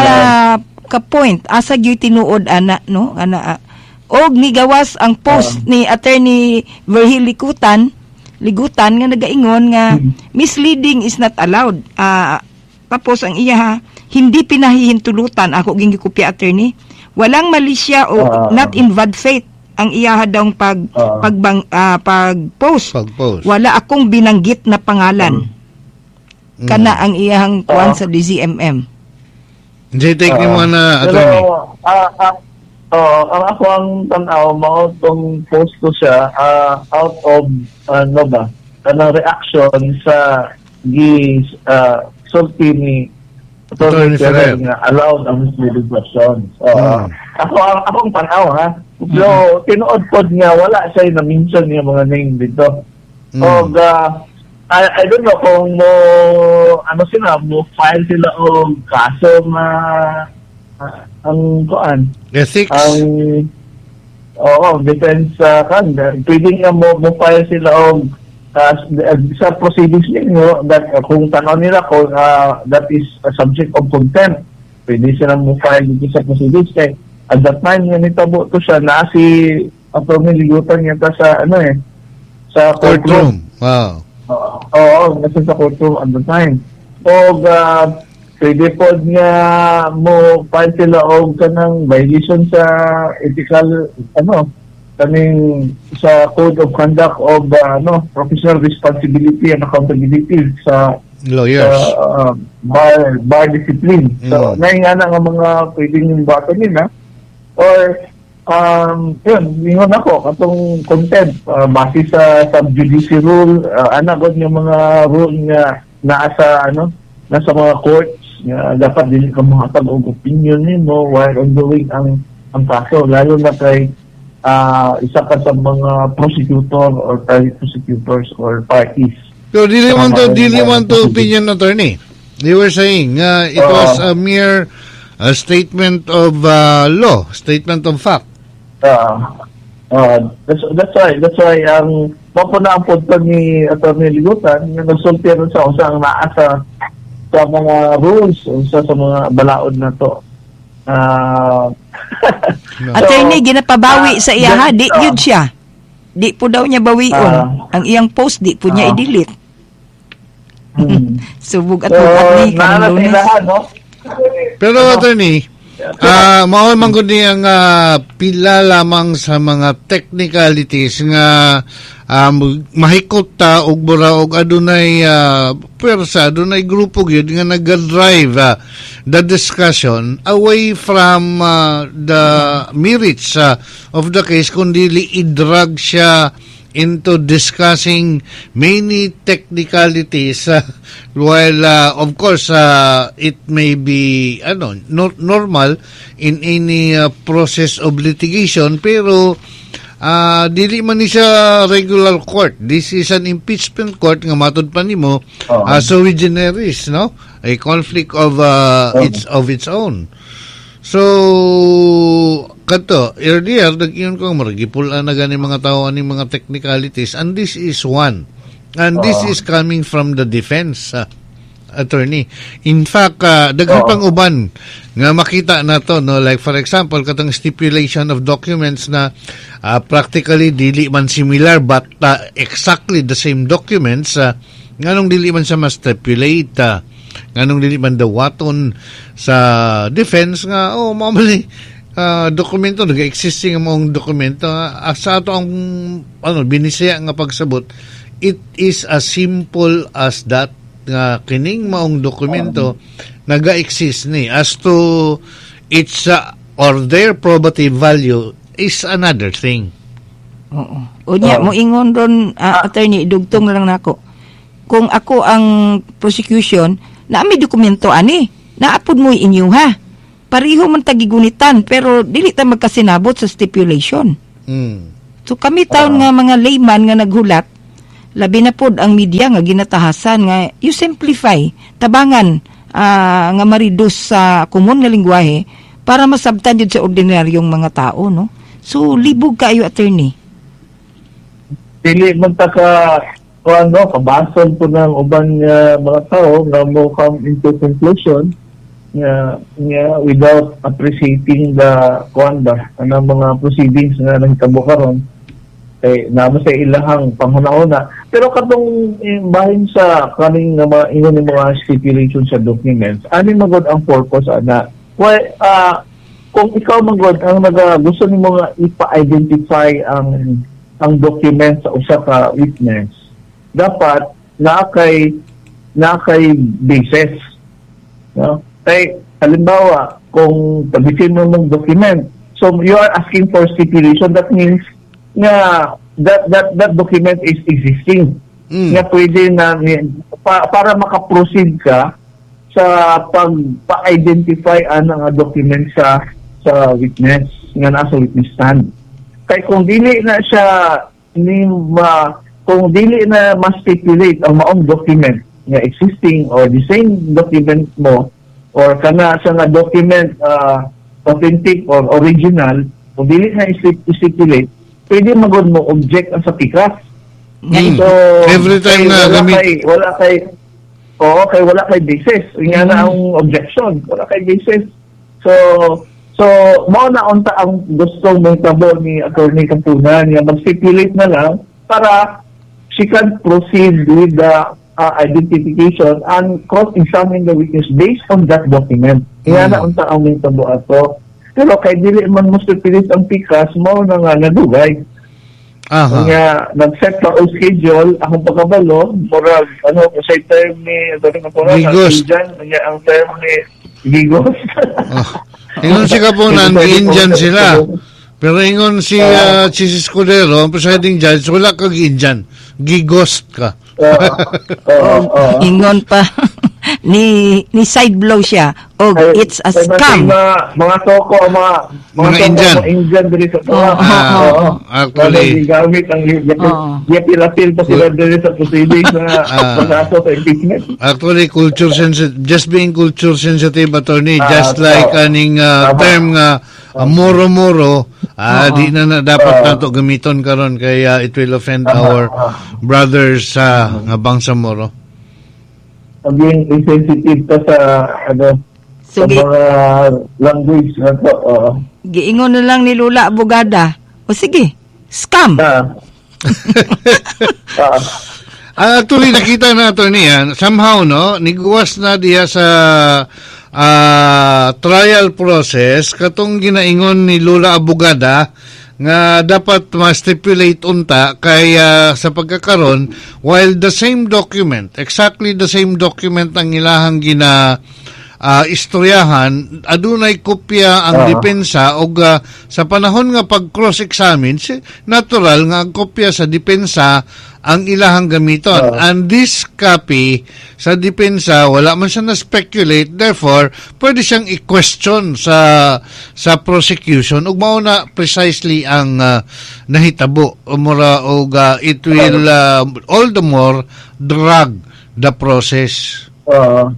ka point asa gyud tinuod ana no ana ah. og nigawas ang post ni attorney Virgil Ligutan Ligutan nga nagaingon nga misleading is not allowed Ah, tapos ang iya ha, hindi pinahihintulutan ako ging gikopya attorney walang malisya o Ah. not in bad faith ang iya daw pag Ah. pagbang ah, pag-post Pag-post. wala akong binanggit na pangalan Mm. kana ang iyang kuan Ah. sa DZMM Hindi take ni mo na Pero, attorney. ah, ah, oo, ang ako ang tanaw, mao tong post ko siya ah, out of, ano ba, kanang reaction sa gi uh, sulti ni Attorney Attorney Ferrer Ferrer. nga allowed ang misleading questions. Oo. Mm. Ako ang akong tanaw ha. Pero tinuod pod nga wala siya na mention nga mga name dito. Mm. Og ah, I, I don't know kung mo ano sila mo file sila og kaso nga ah, ang kuan Ethics. ang oo defense sa kan pwede nga mo mo file sila og uh, sa proceedings ninyo that uh, kung tanaw nila kung ah, that is a subject of contempt pwede sila mo file dito sa proceedings kay at that time nga nitabo to siya naa si Attorney Ligutan yata sa ano eh sa Courtroom. Wow. Oo, oo, nasa sa courtroom at the time. Og uh, pwede po nga mo file sila og kanang violation sa ethical ano kaning sa code of conduct of uh, ano professional responsibility and accountability sa Lawyers. sa uh, bar bar discipline. So Mm. mm. na nga mga pwedeng yung bato nila or um yun, ingon ako katong contempt uh, base sa sub judice rule uh, ana gud yung mga rule nga naa sa ano nasa mga courts nga dapat dili ka mohatag og opinion nimo while ongoing ang ang kaso lalo na kay ah, isa ka sa mga prosecutor or private prosecutors or parties. Pero dili man to, Tama, dili yun. man to opinion attorney. You were saying uh, it Oo. was a mere uh, statement of uh, law, statement of fact. Ah, ah, that's that's why that's why ang mao po na ang punto ni Attorney Ligutan nga nagsulti ron sa unsa ang naa sa sa mga rules unsa sa mga balaod na to. Ah, No. Attorney, ginapabawi ah, sa iya ha, di ah. yun siya. Di po daw niya bawion. Ah. ang iyang post, di po niya Ah. i-delete. hmm. So, bugat So, bugat ni naa karong na sa Lunes. ilahan, no? Pero Ano? attorney, ah mao man gud ni ang ah, pila lamang sa mga technicalities nga um, mahikot ta og mura og adunay uh, pwersa, adunay grupo gyud nga naga-drive ah, the discussion away from ah, the merits ah, of the case kundi i-drag siya into discussing many technicalities uh, while uh, of course uh, it may be ano no- normal in any uh, process of litigation pero uh, dili man ni siya regular court this is an impeachment court nga matud pa nimo Oo. uh, sui generis no a conflict of uh, Oo. its of its own So, kato, earlier, nag-iyon ko, murag gipul-an na gani mga tao aning mga technicalities, and this is one. And this Oo. is coming from the defense uh, attorney. In fact, uh, daghan Oo. pang uban nga makita na to, no? Like for example, katong stipulation of documents na uh, practically dili man similar but uh, exactly the same documents, uh, nganong dili man siya ma-stipulate, uh, nganong dili man dawaton sa defense nga oh mao man ni ah, dokumento nag-existing ang maong dokumento ah, sa ato ang ano binisaya nga pagsabot it is as simple as that nga kining maong dokumento naga-exist ni as to its uh, or their probative value is another thing Oo. Unya, Oo. mo ingon ron, ah, attorney, dugtong na lang nako. Kung ako ang prosecution, naa may dokumento ani, naapod mo inyo ha. Pareho man ta gigunitan pero dili ta magkasinabot sa stipulation. Mm. So kami taon nga mga layman nga naghulat, labi na pod ang media nga ginatahasan nga you simplify, tabangan ah, nga ma-reduce sa common nga lingwahe para masabtan jud sa ordinaryong mga tao, no? So libog kaayo, attorney. Dili man ta ka o ano, kabasol po ng uban nga mga tao nga mo come into conclusion nga nga without appreciating the kuan ba, anang mga proceedings nga nahitabo karon kay namo sa ilahang panghuna-una. Pero katong eh, bahin sa kaning nga mga ingon ni mga stipulation sa documents, ani magod ang purpose ana? Well, ah, kung ikaw magod ang naga gusto nimo nga ipa-identify ang ang document sa usa ka witness, dapat naa kay naa kay basis, no? Kay halimbawa, kung pabisin mo mong document, so you are asking for stipulation. That means nga that that that document is existing Mm. nga pwede na pa, para makaproceed ka sa pag pa-identify ang nga document sa sa witness nga nasa witness stand. Kay kung dili na siya ni ma kung dili na ma-stipulate ang maong document nga existing or the same document mo or kana sa nga document uh, authentic or original, kung dili na i-stipulate, pwede magod mo object ang sa pikas. Mm. So, Every time kay na wala gamit- kay, wala kay oo, kay wala kay basis. Nga na ang objection, wala kay basis. So, so mao na unta ang gustong mahitabo ni Attorney Kapunan nga mag-stipulate na lang para she can proceed with the uh, identification and cross-examine the witness based on that document. Nga Mm. na unta ang mahitabo ato. Pero kay dili man mo stipulate ang pikas, mao na nga nadugay. Aha. Nga nag-set pa og schedule akong pagkabalo, murag ano sa term ni Attorney Kapunan, ang Gigos. Indian, nga ang term ni Gigos. Oh. Ingon si Kapunan, Indian sila. Pero ingon si uh, Chiz Escudero, ang presiding judge, wala kag Indian. Gighost ka. Oo. Oo, oo. Ingon pa ni ni side blow siya og Ay, it's a ay, scam. Mga, mga toko, mga mga, Mga toko, Indian. mga Indian diri sa Oo, Ah, Oo. actually, Gigamit ang Oo. gipilapil pa sila diri sa proceedings na Ah. pag-aso sa impeachment. Actually, culture sensitive, just being culture sensitive, attorney, Ah, just like oo. aning uh, Tama. term nga uh, moro-moro, ah, Oo. di na, na dapat Oo. nato gamiton karon kay uh, it will offend Tama. our Ah. brothers sa nga Bangsamoro. Maging insensitive ka sa ano So, sa gi- mga language na to. Oo. giingon na lang ni Lola Abogada. O sige, scam. Ah. Ah. Ah, actually, nakita na, attorney, ah, somehow, no, niguwas na diya sa ah, trial process katong ginaingon ni Lola Abogada nga dapat ma-stipulate unta kay ah, sa pagkakaron, while the same document, exactly the same document ang ilahang gina ah, istoryahan, adunay kopya ang Ah. depensa og ah, sa panahon nga pag cross-examine, si- natural nga ang kopya sa depensa ang ilahang gamiton. Ah. And this copy sa depensa, wala man siya na-speculate, therefore pwede siyang i-question sa sa prosecution ug mao na precisely ang ah, nahitabo. Mura og ah, it will ah, all the more drag the process. Oo.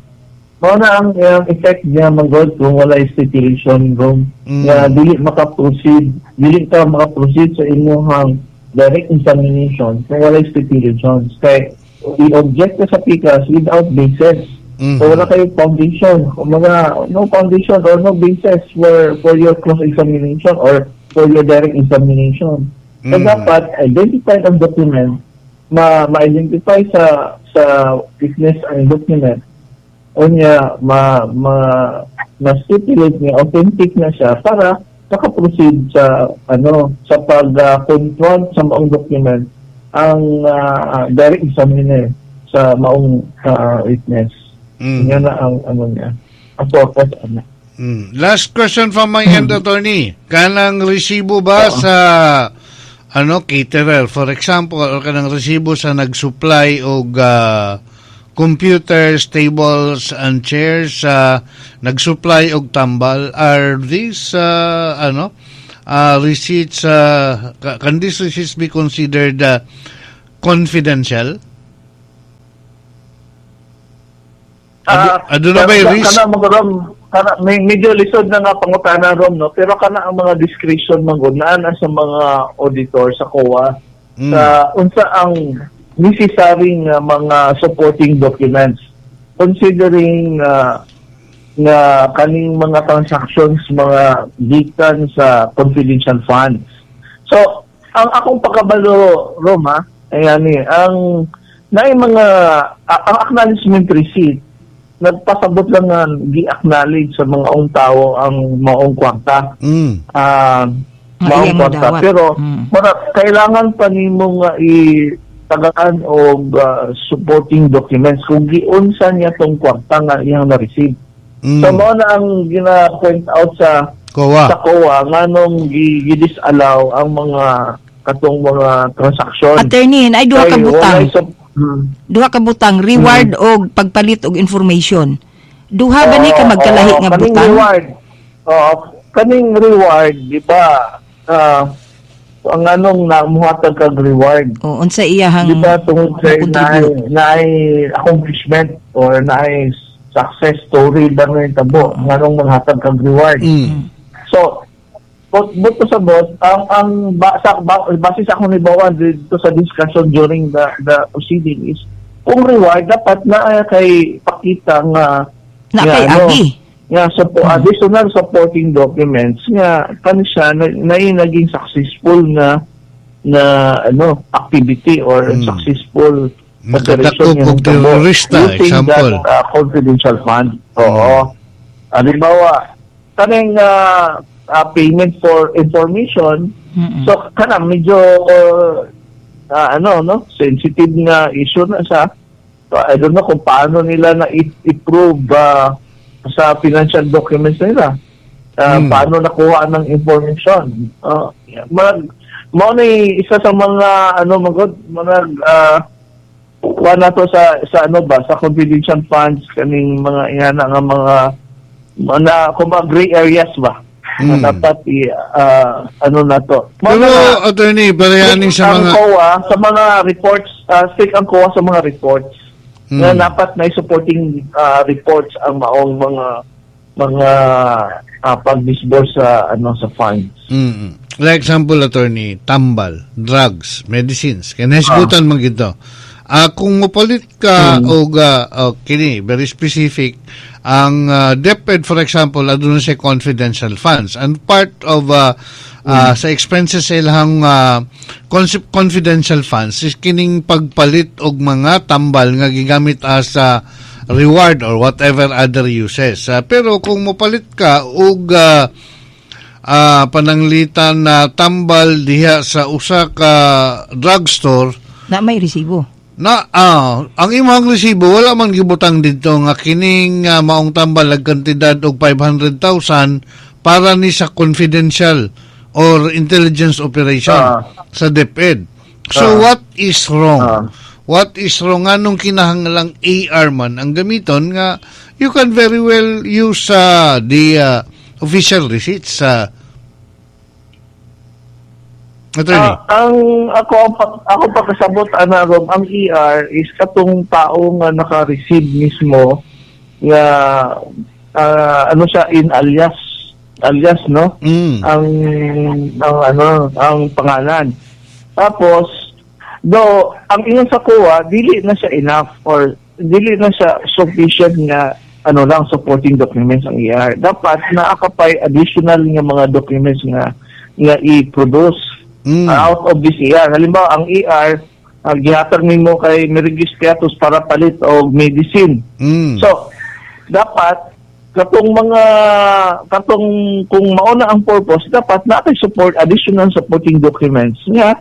Mao na ang, ang effect niya manggod kung wala stipulation room Mm. nga dili maka-proceed, dili ka maka-proceed sa imuhang direct examination kung wala stipulations. Kay i-object ka sa pikas without basis. Mhm. So wala kayo foundation, kumbaga no foundation or no basis for for your cross examination or for your direct examination. So Mm. dapat identify ang document, ma ma-identify sa sa witness ang document o niya ma ma ma-stipulate niya authentic na siya para maka-proceed sa ano sa pag-confront sa maong document ang ah, direct examiner sa maong ah, witness. Mm. Yan na ang ano niya. Ang purpose ano. Mm. Last question from my end, attorney. Kanang resibo ba Oo. sa ano caterer, for example, or kanang resibo sa nag-supply og ah, computers, tables and chairs, uh, nag-supply og tambal. Are these uh, ano uh, receipts, uh, can these receipts be considered uh, confidential? Uh, Ado, na ba risk? Kana mga rom, kana may medyo lisod na nga pangutana rom, no, pero kana ang mga discretion man gud naa na sa mga auditor sa C O A mm. sa unsa ang necessary nga mga supporting documents considering uh, nga kaning mga transactions mga gikan sa confidential funds. So, ang akong pagkabalo, Roma, ayan ni, ang naay mga ang acknowledgement receipt nagpasabot lang nga gi-acknowledge sa mga ong tao ang maong kwarta. Mm. Uh, maong kwarta. Pero mm. mara, kailangan pa nimo nga i-tagaan og uh, supporting documents kung giunsa niya tong kwarta nga iyang na-receive. Mm. So mao na ang gina-point out sa C O A. Sa C O A nganong gi-disallow ang mga katong mga transaksyon. Attorney, ay duha ka butang. Hmm. Duha ka butang, reward hmm. og pagpalit og information. Duha ba ni ka magkalahi nga kaning butang? Reward. Oo, kaning reward, di ba? Uh, ang anong namuhatag kag reward? O unsa iyahang di ba tungod kay naay naay accomplishment or naay success story ba nga tabo nganong manghatag kag reward? Mm. So, but but sa bot ang ang ba, sa, ba, base sa akong nibawan dito sa discussion during the the proceeding is kung reward dapat na kay pakita nga na kay ano, agi nga so, mm. additional supporting documents nga kani siya na, na, na naging successful na na ano activity or mm. successful operation nga terrorista, example that, uh, confidential fund. Oo. Halimbawa kaning uh, Uh, payment for information. Mm-mm. So kana medyo uh, uh, ano no sensitive na issue na sa, so, I don't know kung paano nila na i-prove uh, sa financial documents nila uh, mm. paano nakuha ng information. Uh, mag mao na isa sa mga ano magod mga uh, kuha na to sa sa ano ba sa confidential funds kaning mga ingana nga mga na kung ba gray areas ba. Mm. Dapat i uh, ano na to. Pero na, attorney, parehanin sa mga ang C O A sa mga reports, uh, stick ang C O A sa mga reports. Mm. Na dapat may supporting uh, reports ang maong mga mga uh, pag-disburse sa ano sa funds. Mm. Like example, attorney, tambal, drugs, medicines. Kaya nahisgutan ah. man gito. Uh, kung mopalit ka mm. og uh, oh, kini very specific ang uh, DepEd for example aduna siya confidential funds and part of uh, mm. uh, sa expenses sa ilang uh, confidential funds is kining pagpalit og mga tambal nga gigamit as uh, reward or whatever other uses. Uh, pero kung mopalit ka og uh, uh, pananglitan na tambal diha sa usa ka drugstore na may resibo. Na ah, ang imong resibo wala man gibutang didto nga kining uh, maong tambal ag kantidad og five hundred thousand para ni sa confidential or intelligence operation uh, sa DepEd. So uh, what is wrong? Uh, what is wrong nganong kinahanglang A R man ang gamiton nga you can very well use uh, the uh, official receipts sa uh, Uh, ang ako ako pagkasabot ana Rob, ang E R is katong tao nga naka-receive mismo nga uh, ano siya in alias alias no mm. ang ang ano ang pangalan. Tapos do ang ingon sa C O A dili na siya enough or dili na siya sufficient nga ano lang supporting documents ang E R. Dapat naa ka pay additional nga mga documents nga nga i-produce. Mm. Uh, out of this E R. Halimbawa, ang E R, uh, gihatag nimo kay Merigis Piatos para palit og medicine. Mm. So, dapat, katong mga, katong, kung mauna ang purpose, dapat na kay support, additional supporting documents nga,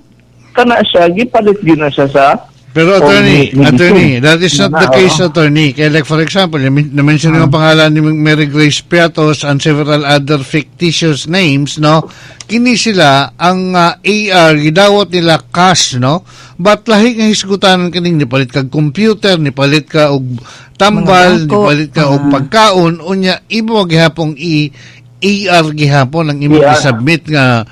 kana siya, gipalit yun na siya sa Pero O attorney, medicine. Attorney, that is not Na, the case, oo. attorney. Kaya like, for example, na-mention yung pangalan ni Mary Grace Piatos and several other fictitious names, no? Kini sila, ang ah, A R, gidawat nila cash, no? But lahi nga hisgutan kining nipalit kag computer, nipalit ka og tambal, Mga bangko. Nipalit ka og Ah. pagkaon, unya imo gihapong i A R gihapon ang imo A R. i-submit nga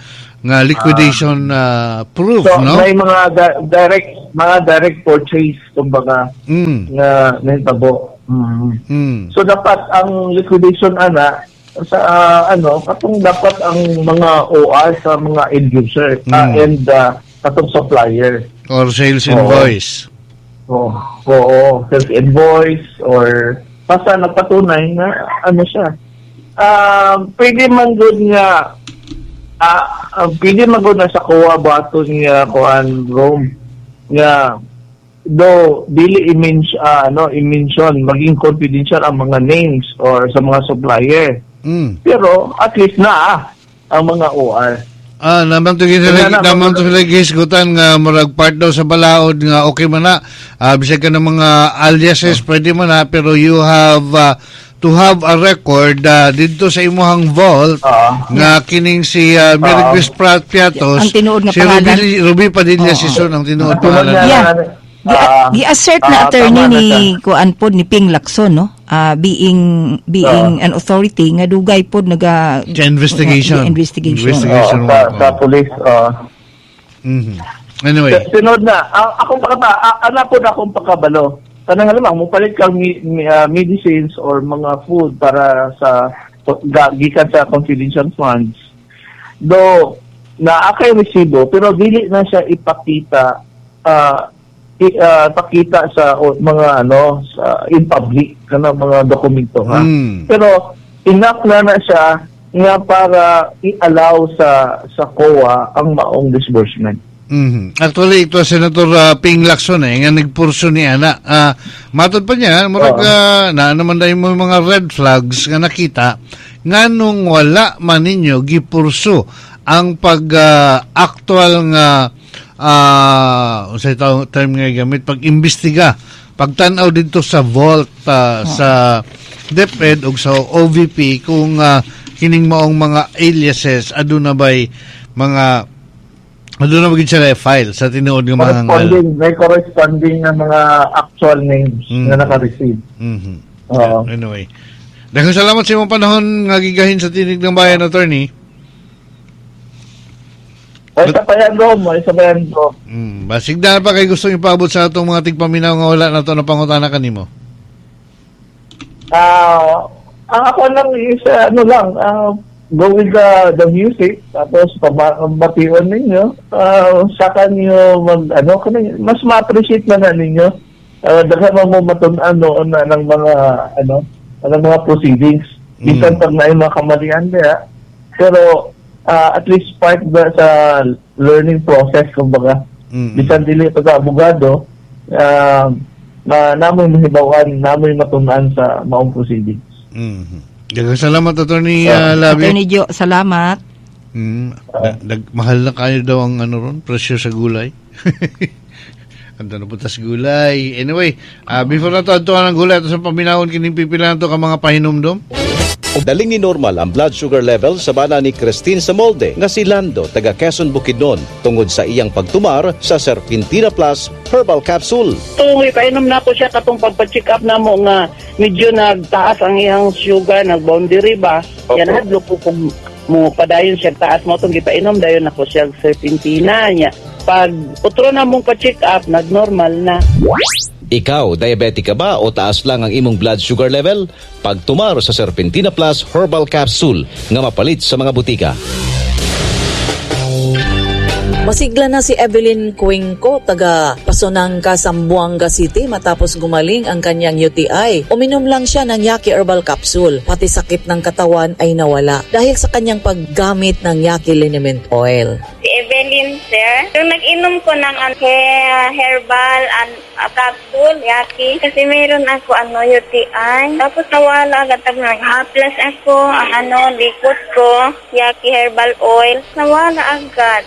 nga liquidation ah, proof, So, no? may mga di- direct mga direct purchase kumbaga Mm. nga nahitabo. Mm. Mm. So dapat ang liquidation ana sa ah, ano, katong dapat ang mga O R sa mga end user ah, Mm. and ah, katong supplier. Or sales Oo. invoice. Oo, oo, sales invoice or basta nagpatunay na ano siya. Um, pwede man gud nga ah ah, pwede man gud na sa C O A bato niya kuan Rome nga do dili i-mention, ah, ano, i-mention, maging confidential ang mga names or sa mga supplier. Mm. Pero at least na ah, ang mga O R. Ah, naman to sila Wala na, naman to sila gihisgutan nga murag part daw sa balaod nga okay man na. Ah, bisag ka ng mga aliases, pwede man na, pero you have ah, to have a record ah, didto sa imuhang vault Ah. nga kining si uh, Mary Ah. Grace Pratt Piatos, Ang tinuod nga si pangalan. Ruby, Ruby Padilla Oo. Sison ang tinuod Tulad pangalan. na- Yeah. Ah, Gi- Gi-assert na ah, attorney tama na ni siya. kuan pod ni Ping Lacson, no, Ah, being being an authority nga dugay pod naga Sa investigation. nga- investigation. Investigation. Oo, sa, sa police. Oo. Mhm. Anyway, Sunod na, ang akong pakata, a- ana po na akong pakabalo. Kanang halimbawa, mo palit kang mi, mi- ah, medicines or mga food para sa ga, gikan sa confidential funds. Do naa kay resibo pero dili na siya ipakita ah, i, ah, pakita sa o, mga ano sa in public kana mga dokumento ha. Mm. Pero enough na na siya nga para i-allow sa sa C O A ang maong disbursement. Mhm. Actually, ito Senator uh, Ping Lacson eh, nga nagpurso ni ana. Ah, matod pa niya, murag Oo. uh, na naman dahil mo yung mga red flags nga nakita nga nung wala man ninyo gipurso ang pag ah, actual nga ah unsay tawag term nga gamit, pag-imbestiga, pagtan-aw dito sa vault ah, sa DepEd ug sa O V P kung ah, kining maong mga aliases aduna bay mga aduna ba gid sila file sa tinuod nga mga ngalan. Corresponding, may corresponding na mga actual names Mm. na naka-receive. Mhm. Oo. Anyway. Daghang salamat sa imong panahon nga gigahin sa Tinig ng Bayan, attorney. O, isa pa yan, Rom. O, isa pa yan, Rom. Mm, basig na pa kay gusto ipaabot sa atong mga tigpaminaw nga wala na to na pangutana kanimo. Ah, ang ako lang is, uh, ano lang, ah, go with the, the music, tapos pabation ninyo, uh, saka niyo mag, ano, kanang- mas ma-appreciate na na ninyo. Uh, daghan mo mo matun-an noon na ng mga, ano, ng mga proceedings. Bisan Mm. pag na yung mga kamalian niya, pero ah, at least part ba sa learning process, kumbaga. Mm. Bisan dili pa ka abogado, ah, na namoy mahibawan, namoy matun-an sa maong proceedings. Mhm. Daghang salamat, Attorney uh, Labi. Attorney Joe, salamat. Mm, da- dag- mahal na kayo daw ang ano ron, presyo sa gulay. Ando na punta sa gulay. Anyway, ah, before na to, adtuan ang gulay, ato sa paminawon kining pipila to ka mga pahinumdom. Daling ni normal ang blood sugar level sa bana ni Christine Samolde nga si Lando taga Quezon Bukidnon tungod sa iyang pagtumar sa Serpentina Plus Herbal Capsule. Tung ipainom na ko siya katong pagpa-check up na mo nga medyo nagtaas ang iyang sugar, nag-boundary ba. Yan hadlo ko kung mo padayon siya taas mo tong gipainom dayon nako siya serpentina niya. Pag utro na mong pa-check up, nag-normal na. Ikaw, diabetic ka ba o taas lang ang imong blood sugar level? Pagtumar sa Serpentina Plus Herbal Capsule nga mapalit sa mga butika. Masigla na si Evelyn Cuenco, taga Pasonanca, Zamboanga City matapos gumaling ang kanyang U T I. Uminom lang siya ng Yaki Herbal Capsule. Pati sakit ng katawan ay nawala dahil sa kanyang paggamit ng Yaki Liniment Oil. Si Evelyn, sir. Yung nag-inom ko ng ano, he- herbal and uh, capsule, Yaki, kasi mayroon ako ano, U T I. Tapos nawala agad. Tapos nag-haplas ako, ang ano, likod ko, Yaki herbal oil. Nawala agad.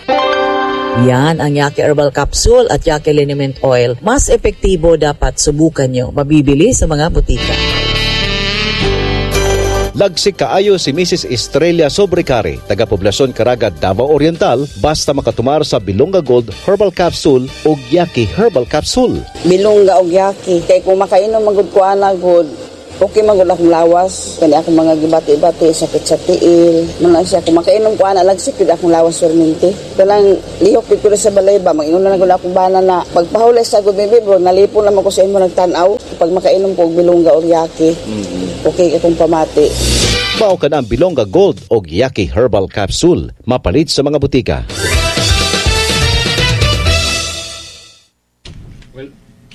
Yan ang Yaki Herbal Capsule at Yaki Liniment Oil. Mas epektibo, dapat subukan nyo. Mabibili sa mga botika. Lagsik kaayo si Missus Estrella Sobrecare, taga Poblasyon Caraga, Davao Oriental, basta makatumar sa Bilonga Gold Herbal Capsule o Yaki Herbal Capsule. Bilongga og Yaki. Kay kung makainom magud ko ana gud, okay magud akong lawas. Kani akong mga gibati-bati, sakit sa tiil. Muna siya, kung makainom ko ana, lagsik gud akong lawas permente. Kanang lihok gud ko sa balay ba, mag-inom na gud akong bana na pagpahulay sa gud baby bro, nalipon naman ko sa imo nagtan-aw. Pag makainom ko og Bilongga or Yaki, okay akong pamati. Mao ka na ang Bilonga Gold o Yaki Herbal Capsule. Mapalit sa mga butika.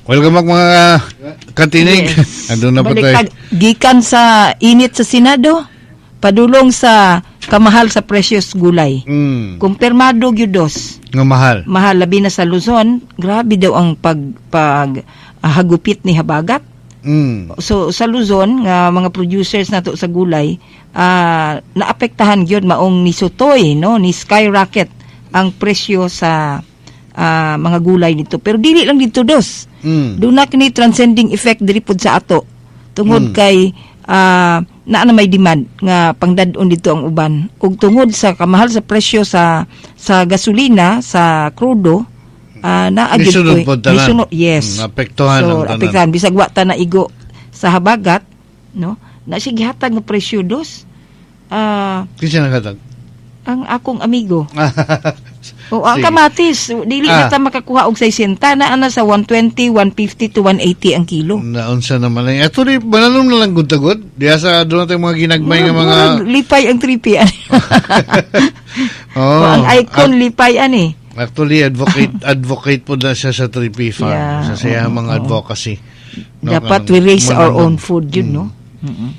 Welcome back mga katinig. Yes. Andun na po tayo. Gikan sa init sa Senado, padulong sa kamahal sa precious gulay. Mm. Kumpirmado gyud dos. Nga mahal. Mahal labi na sa Luzon, grabe daw ang pag pag ah, hagupit ni habagat. Mm. So sa Luzon nga mga producers nato sa gulay, ah, naapektahan gyud maong nisutoy, no, ni skyrocket ang presyo sa ah, mga gulay dito. Pero dili lang dito dos. Mm. Doon na kini transcending effect diri pud sa ato. Tungod Mm. kay ah, naa na may demand nga pangdad-on dito ang uban. Ug tungod sa kamahal sa presyo sa sa gasolina, sa krudo, ah, naa gyud Nisunod ko'y- pod tanan. nisunod, yes. Mm, apektuhan So, ang tanan. apektuhan bisag wa ta na igo sa habagat, no? Na siya gihatag nga presyo dos. Ah, Kinsa naghatag? ang akong amigo. O ang Sige. kamatis, dili Ah. na ta makakuha og sixty, naa na sa one twenty, one fifty to one eighty ang kilo. Naunsa naman lang. Actually, bananom na lang gud tagod. Diya sa doon natin mga ginagmay nga mga Murag lipay ang tripi ani. Oh, O, ang icon ac- lipay ani. Actually, advocate advocate po na siya sa three P Farm. Yeah, Sa siya oo, mga oo. advocacy. No, Dapat kanang we raise our mananom. own food yun, no? Mm-mm.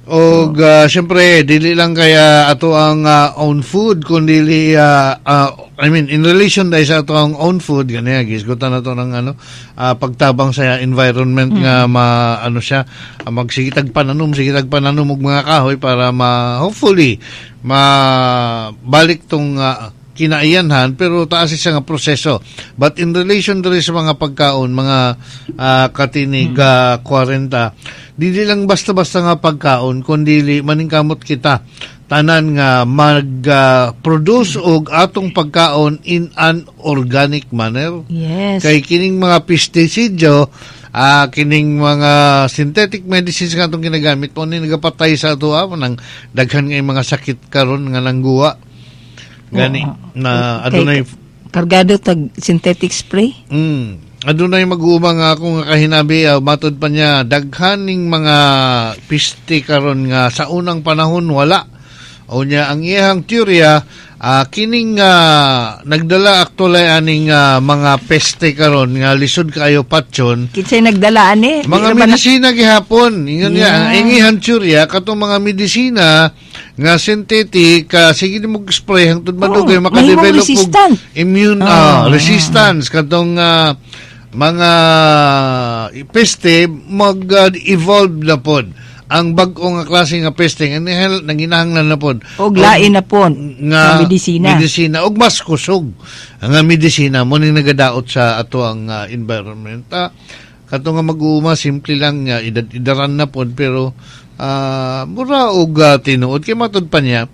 Og uh, syempre dili lang kaya ato ang uh, own food kundi uh, uh, I mean in relation dahil sa ato ang own food ganyan gisgutan na to ng ano uh, pagtabang sa environment mm. nga ma ano siya uh, magsigitag pananom sigitag pananom og mga kahoy para ma hopefully mabalik tong uh, kinaiyanhan pero taas siya nga proseso. But in relation diri sa mga pagkaon, mga uh, katinig uh, kwarenta, dili lang basta-basta nga pagkaon kundi maningkamot kita tanan nga mag-produce uh, og atong pagkaon in an organic manner. Yes. Kay kining mga pestisidyo, uh, kining mga synthetic medicines nga atong ginagamit po ni nagapatay sa ato ah, nang daghan nga mga sakit karon nga nangguwa. Gani Oo. na adunay kargado tag synthetic spray. Mm. Adunay mag-uuma nga ako nga kahinabi uh, matod pa niya daghan ning mga piste karon nga sa unang panahon wala. O niya ang iyang teorya uh, kining uh, nagdala actually aning uh, mga peste karon nga lisod kaayo patyon. Kinsay nagdala ani? Mga medisina gihapon. Ingon niya Yeah. ang iyang teorya katong mga medisina nga synthetic uh, sige mo spray hangtod madugay Oh, makadevelop resistant. og immune Oh. uh, resistance katong uh, mga peste mag-evolve na pod ang bag-o nga klase nga peste nga nanginahanglan na pod og lain na pod nga nga medisina medisina og mas kusog nga medisina mo ni nagadaot sa ato ang uh, environment. Ah, kato nga mag-uuma simple lang nga uh, idaran na pod pero uh, mura og uh, tinuod kay matud pa niya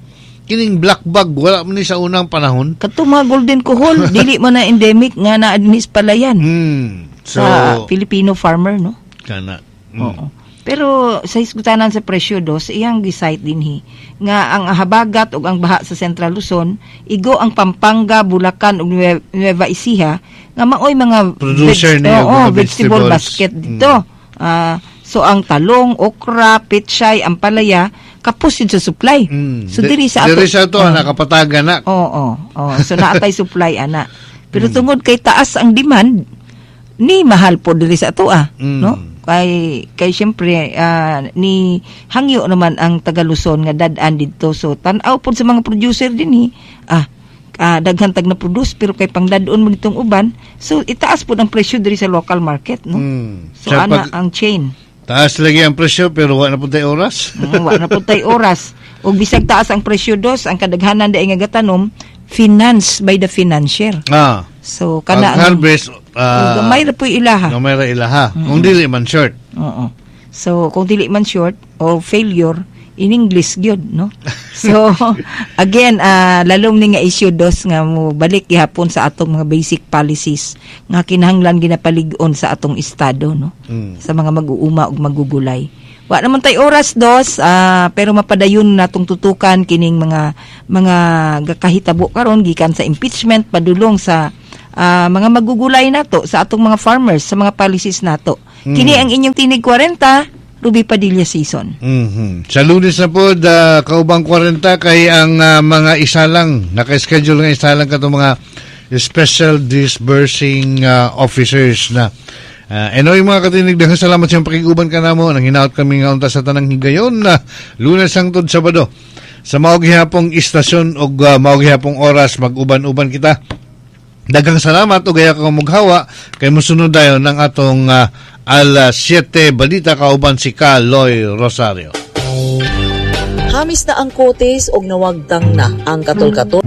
kining black bag wala man ni sa unang panahon kato mga golden kuhol dili man na endemic nga na adnis palayan mm, so, sa Filipino farmer, no? Kana. Mm. Oo. Pero sa hisgutanan sa presyo dos, iyang gisite dinhi nga ang habagat ug ang baha sa Central Luzon, igo ang Pampanga, Bulacan ug Nueva Ecija nga maoy mga producer veg- niya oo, mga vegetable basket dito. Mm. Uh, so ang talong, okra, pechay, ampalaya kapos yun sa supply. Mm. So diri sa ato, diri sa ato uh, nakapataga na. Oo, oo. So naatay supply ana. Pero Mm. tungod kay taas ang demand, ni mahal po diri sa ato ah, Mm. no? Kay kay syempre uh, ni hangyo naman ang taga Luzon nga dad-an didto. So tan-aw pod sa mga producer dinhi, ah, ah daghan tag na produce pero kay pangdad-on mo ditong uban, so itaas pod ang presyo diri sa local market, no? Mm. So Sa ana pag- ang chain. Taas lagi ang presyo pero wa na pud tay oras. Mm, wa na pud tay oras. Ug bisag taas ang presyo dos, ang kadaghanan dai nga gatanom, Financed by the financier. Ah. So kana ang harvest uh, gamay ra po ilaha. Gamay ra ilaha. Kung dili man short. Oo. So kung dili man short or failure in English gyud no. So again uh, lalom ni nga issue dos nga mo balik gihapon sa atong mga basic policies nga kinahanglan ginapalig-on sa atong estado no. Mm. Sa mga mag-uuma ug magugulay. Wa naman tay oras dos ah, pero mapadayon natong tutukan kining mga mga gakahitabo karon gikan sa impeachment padulong sa ah, mga magugulay nato sa atong mga farmers sa mga policies nato. Mm. Kini ang inyong Tinig kwarenta, Ruby Padilla season. Mhm. Sa Lunes na po, da, kaubang kwarenta kay ang ah, mga isalang, naka-schedule nga isalang katong mga special disbursing ah, officers na. Uh, anyway, mga katinig, daghang salamat sa iyong pakiguban ka namo. Nang hinaot kami nga unta sa tanang higayon na Lunes hangtod Sabado. Sa mao gihapong istasyon ug uh, mao gihapong oras mag-uban-uban kita. Daghang salamat ug ayaw ka mughawa kay mosunod dayon ng atong uh, alas siyete balita kauban si Kaloy Rosario. Hamis na ang kutis og nawagtang na ang katol-katol.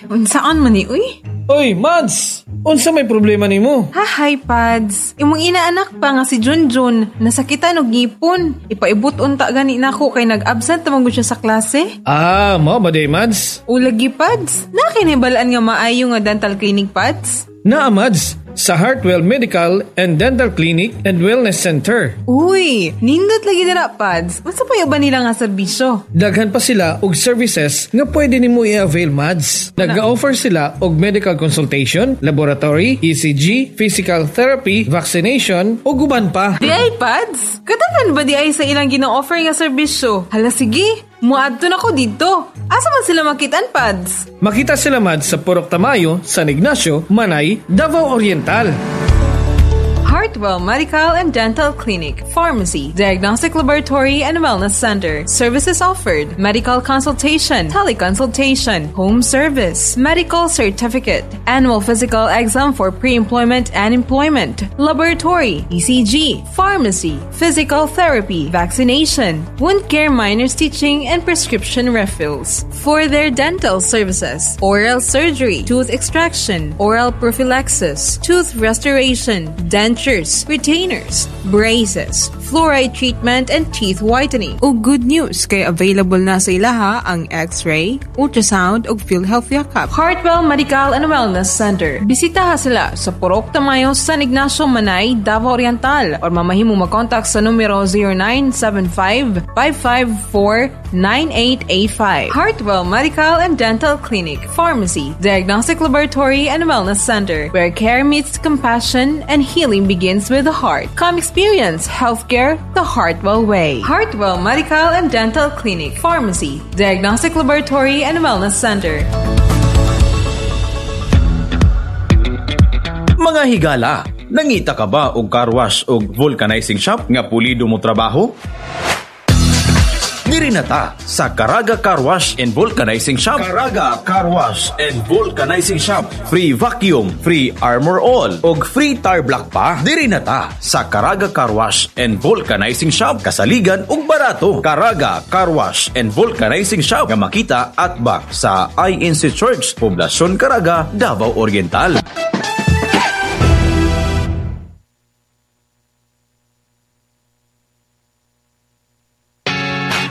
Unsaan man ni uy? Oy, Mads! Unsa may problema nimo? Ha, hi, Pads. Imong inaanak pa nga si Junjun, nasakitan og ngipon. Ipaibot unta gani nako kay nag-absent man gud siya sa klase. Ah, mao ba day, Mads? Ulagi, Pads. Naa kay nahibalaan nga maayo nga dental clinic, Pads? Naa, Mads, sa Heartwell Medical and Dental Clinic and Wellness Center. Uy, nindot lagi dira, Pads. Unsa pa ba nila nga serbisyo? Daghan pa sila og services nga pwede nimo i-avail, Mads. Nag-offer sila og medical consultation, laboratory, E C G, physical therapy, vaccination, ug uban pa. Di ay, Pads? Kadaghan ba di ay sa ilang gina-offer nga serbisyo? Hala sige, muadto na ko dito. Asa man sila makitaan, Pads? Makita sila, Mads, sa Purok Tamayo, San Ignacio, Manay, Davao Oriental. Heartwell Medical and Dental Clinic, Pharmacy, Diagnostic Laboratory, and Wellness Center. Services offered: medical consultation, teleconsultation, home service, medical certificate, annual physical exam for pre-employment and employment, laboratory, E C G, pharmacy, physical therapy, vaccination, wound care minor stitching, and prescription refills. For their dental services, oral surgery, tooth extraction, oral prophylaxis, tooth restoration, dentures, retainers, braces, fluoride treatment, and teeth whitening. O good news, kay available na sa ilaha ang X-ray, ultrasound, ug PhilHealth Yakap. Heartwell Medical and Wellness Center. Bisitaha sila sa Purok Tamayo, San Ignacio, Manay, Davao Oriental or mamahimo makontak sa numero zero nine seven five, five five four, nine eight eight five. Heartwell Medical and Dental Clinic, Pharmacy, Diagnostic Laboratory, and Wellness Center, where care meets compassion and healing begins with the heart. Come experience healthcare the Heartwell way. Heartwell Medical and Dental Clinic, Pharmacy, Diagnostic Laboratory, and Wellness Center. Mga higala, nangita ka ba og car wash og vulcanizing shop nga pulido mo trabaho? Diri na ta sa Caraga Car Wash and Vulcanizing Shop. Caraga Car Wash and Vulcanizing Shop. Free vacuum, free Armor All, og free tar block pa. Diri na ta sa Caraga Car Wash and Vulcanizing Shop. Kasaligan ug barato. Caraga Car Wash and Vulcanizing Shop nga makita atbang sa I N C Church, Poblacion Caraga, Davao Oriental.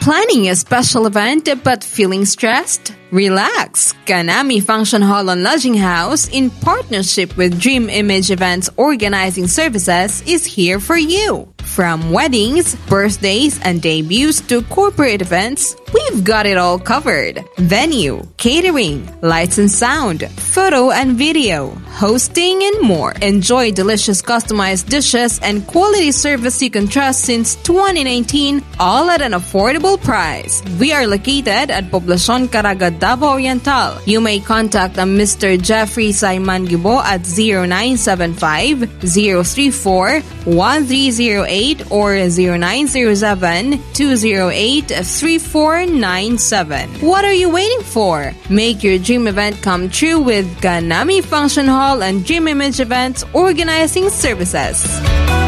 Planning a special event but feeling stressed? Relax! Kanami Function Hall and Lodging House, in partnership with Dream Image Events Organizing Services, is here for you. From weddings, birthdays, and debuts to corporate events, we've got it all covered. Venue, catering, lights and sound, photo and video, hosting, and more. Enjoy delicious customized dishes and quality service you can trust since twenty nineteen, all at an affordable price. We are located at Poblacion Caraga, Davao Oriental. You may contact uh, Mister Jeffrey Simon Gibo at zero nine seven five zero three four one three zero eight or zero nine zero seven two zero eight three four nine seven. What are you waiting for? Make your dream event come true with Kanami Function Hall and Dream Image Events Organizing Services.